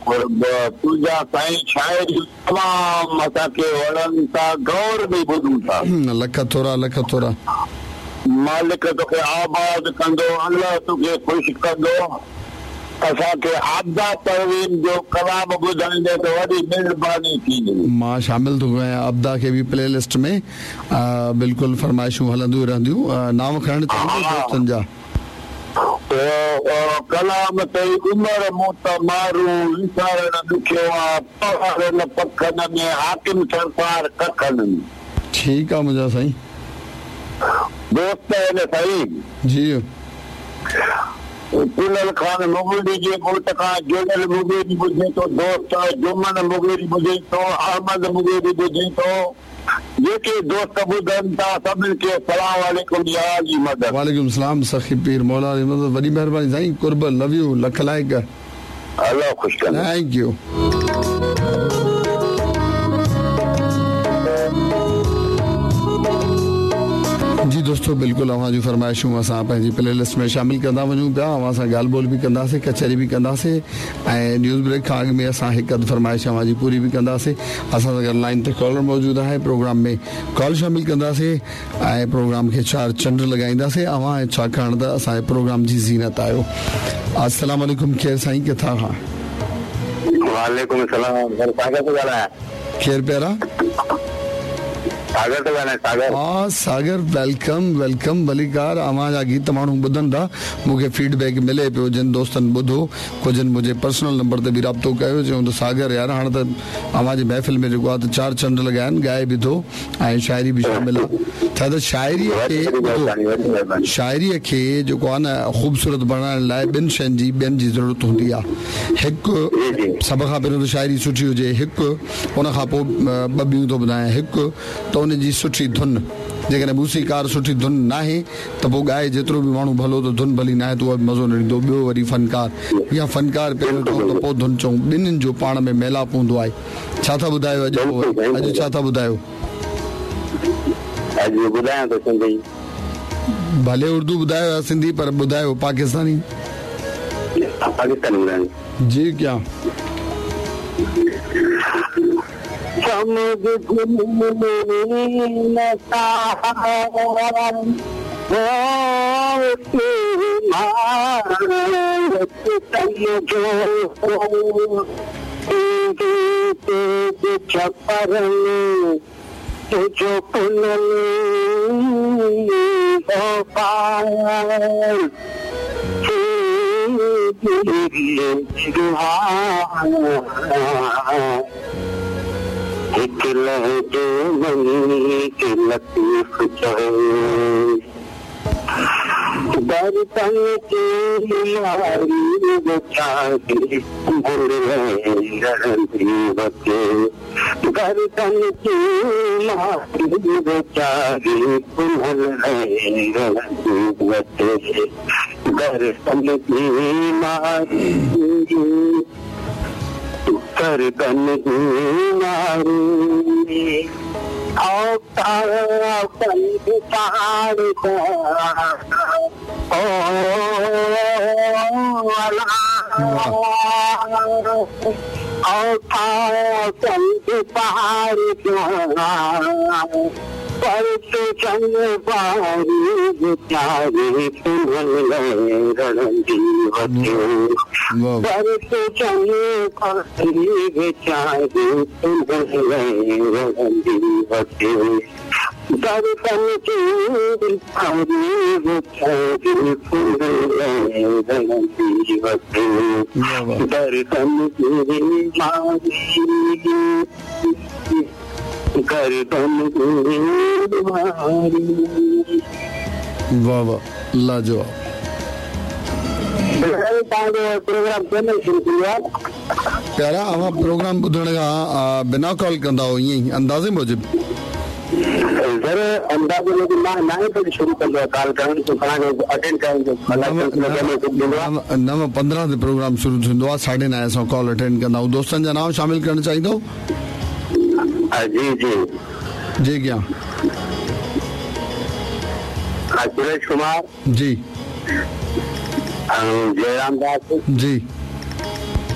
قرب तुंहिंजा साईं शाइरी तमामु असांखे वणनि था, गौर ॾेई ॿुधूं था। लख थोरा, लख थोरा। मालिक तोखे आबाद कंदो, अल्लाह तोखे ख़ुशि कंदो। असांखे आबदा परवीन जो कलाम ॿुधाईंदे त वॾी महिरबानी थींदी। मां शामिल थो कयां आबदा खे बि प्ले लिस्ट में। बिल्कुलु फरमाइशूं हलंदियूं रहंदियूं। नाम खणणु चाहींदो दोस्तनि जा? कलाम तई उमर मूं त मारू विसारण ॾुखियो आहे, पहाड़नि पखनि में हाकिम सरकार कखनि में। ठीकु आहे मुंहिंजा साईं। दोस्त आहिनि साईं। जी। कुलल खान मुगेरी जे ॻोठ खां जुड़ियल मुगेरी ॿुधे थो दोस्त, जुमन मुगेरी ॿुधे थो, अहमद मुगेरी ॿुधे थो। जेके दोस्त ॿुधनि था सभिनी खे सलाम वालेकुम, या अली मदद। वालेकुम सलाम सखी पीर मौला अली मदद। वॾी महिरबानी साईं, कुर्ब, लव you, लख लाइक। अल्लाह ख़ुशि कंदो। Thank you. जी दोस्तों, बिल्कुलु अव्हां जूं फरमाइशूं असां पंहिंजी प्ले लिस्ट में शामिल कंदा वञूं पिया। अव्हां सां ॻाल्हि ॿोल बि कंदासीं, कचहरी बि कंदासीं ऐं न्यूज़ ब्रेक खां अॻु में असां हिकु अधु फरमाइश अव्हां जी पूरी बि कंदासीं। असां सां गॾु लाइन ते कॉलर मौजूदु आहे, प्रोग्राम में कॉल शामिल कंदासीं ऐं प्रोग्राम खे चार चंड लॻाईंदासीं। अव्हां छाकाणि त असांजे प्रोग्राम जी ज़ीनत आहियो। अस्सलाम वालेकुम, केरु साईं, किथां खां? वालेकुम सलाम सर, सागर थो ॻाल्हायां। केरु प्यारा? सागर थो ॻाल्हायां, सागर। हा सागर, welcome welcome, भलीकार। अव्हां जा गीत माण्हू ॿुधनि था, मूंखे फीडबैक मिले पियो, जिन दोस्तनि ॿुधो, कुझु मुंहिंजे पर्सनल नंबर ते बि राब्तो कयो, चयूं त सागर यार हाणे त अव्हांजी महफ़िल में जेको आहे त चार चंड लॻा आहिनि, ॻाए बि थो ऐं शाइरी बि शामिल आहे। छा त शाइरीअ खे ॿुधो, शाइरीअ खे जेको आहे न ख़ूबसूरत बणाइण लाइ ॿिनि शयुनि जी ॿियनि जी ज़रूरत हूंदी आहे। हिकु सभ खां पहिरियों त शाइरी सुठी हुजे, हिकु उन खां पोइ ॿ ॿियूं थो ॿुधायां। हिकु त उनजी सुठी धुन, जेकॾहिं मूसीकार सुठी धुन नाहे त पोइ ॻाए जेतिरो बि माण्हू भलो त धुन भली नाहे त उहो बि मज़ो न ॾींदो। ॿियो वरी फनकार या फनकार पहिरियों चऊं त पोइ धुन चऊं, ॿिन्हिनि जो पाण में मेलाप हूंदो आहे। छा था ॿुधायो अॼु? अॼु छा था ॿुधायो? अॼु ॿुधायां थो सिंधी। भले उर्दू ॿुधायो या सिंधी, पर ॿुधायो पाकिस्तानी। पाकिस्तानी ॿुधायो। जी क्या समझ तुझो हिकु लहजे मनी के लतीफ़ चए, दर्दन की मारी बेचारी बचे, गर्दन की मारी बेचारी बचे, गर्दन की मारी गर्दन की मारी वाह वाह, लाजवाब। प्यारा, अव्हां प्रोग्राम ॿुधण खां बिना कॉल कंदा हो ईअं ई अंदाज़े मूजिबि? सर अंदाज़े मूजिबि मां नाहे पई शुरू कंदो आहियां कॉल करणु, अटेंड करणु। 9:15 ते प्रोग्राम शुरू थींदो आहे, 9:30 असां कॉल अटेंड कंदा आहियूं। दोस्तनि जा नाम शामिल करणु चाहींदो? जी जी जी, क्या? सुरेश कुमार जी, जयराम दास जी,